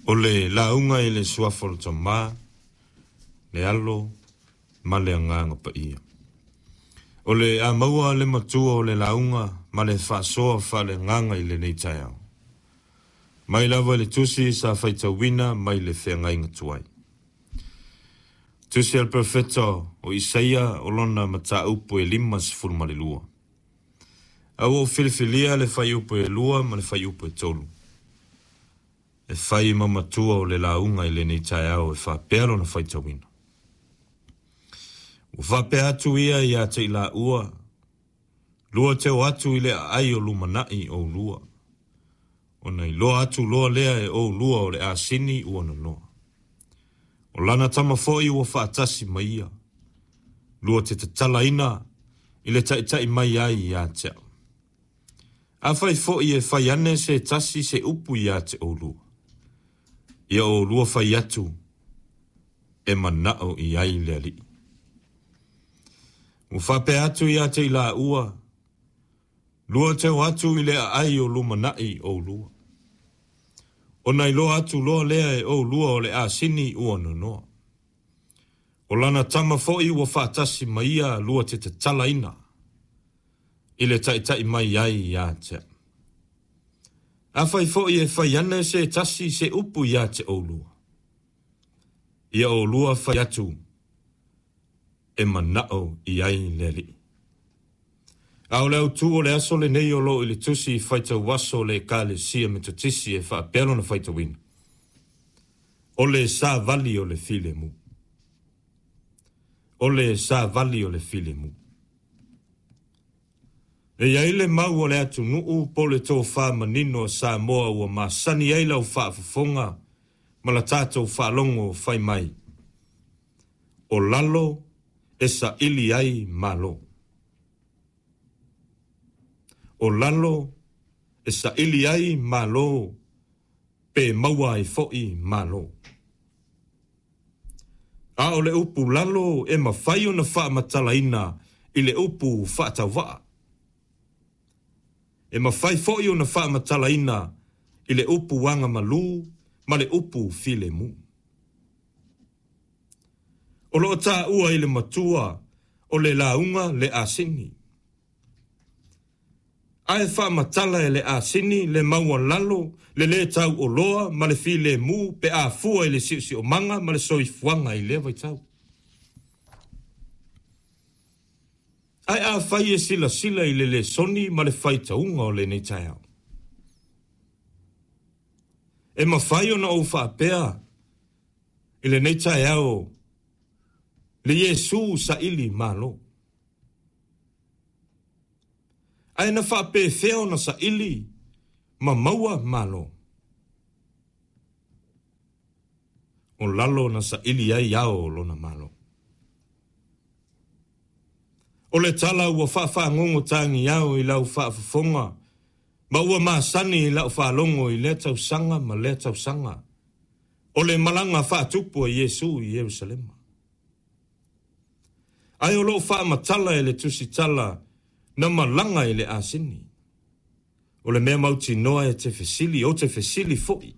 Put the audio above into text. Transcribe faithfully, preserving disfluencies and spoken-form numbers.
O le lauga i le suafa o le Tamā, le Alo ma le Agaga Paia. O le a maua le matua o le lauga ma le faasoa faaleagaga i lenei taeao. Mai lava i le tusi sa faitauina mai le feagaiga tuai. Tusi a le Perofeta o Isaia o lona mataupu e lima sefulu ma le lua. A ua ou filifilia le fuaiupu e lua ma le fuaiupu e tolu. E fai ma matua o le lauga i lenei taeao e faapea lona faitauina. Ua faapea atu ia ia te i laua, lua te o atu i le aai o lumanai oulua. Ona iloa atu loa lea e oulua o le asini ua nonoa. O lana tama foi ua faatasi ma ia, lua te tatalaina i le taitai mai ai ia te au. Afai foi e fai ane se tasi se upu ia te oulua, ia oulua fai atu e manao i ai le Alii. Ua faapea atu ia te i laua, lua te o atu i le aai o lumanai oulua. Ona iloa atu loa lea e oulua o le asini ua nonoa. O lana tama foi ua faatasi ma ia lua te tatalaina i le taitai mai ai ia te au. Afai foi e fai ane se tasi se upu ia te oulua, ia oulua fai atu e manao i ai le Alii. A o le autu o le aso lenei o loo i le tusi faitau aso o le Ekalesia Metotisi e faapea lona faitauina. O le savali o le filemu. O le savali o le filemu. E i ai le mau o le atunuu po le tofa manino a Samoa ua masani ai lau faafofoga ma la tatou faalogo fai mai. O lalo e saili ai malo. O lalo e saili ai malo pe maua ai foi malo. A o le upu lalo e mafai ona faamatalaina i le upu faatauvaa. E mafai foi ona faamatalaina i le upu agamalu ma le upu filemu. O loo taua i le matua o le lauga le asini. Ae faamatala e le asini le maualalo le le tau oloa ma le filemu pe afua i le siosiomaga ma le soifuaga i lea vaitau. Ae afai e silasila i le lesoni ma le faitauga o lenei taeao. E mafai ona ou faapea i lenei taeao le Iesu saili malo. Ae na faapefea ona saili ma maua malo. O lalo na saili ai ao lona malo. O le tala ua faafagogo tagiao i lau faafofoga ma ua masani i lau faalogo i lea tausaga ma lea tausaga. O le malaga faatupu a Iesu i Ierusalema. Ae o loo faamatala e le tusitala na malaga i le asini. O le mea mautinoa e te fesili, o te fesili foi.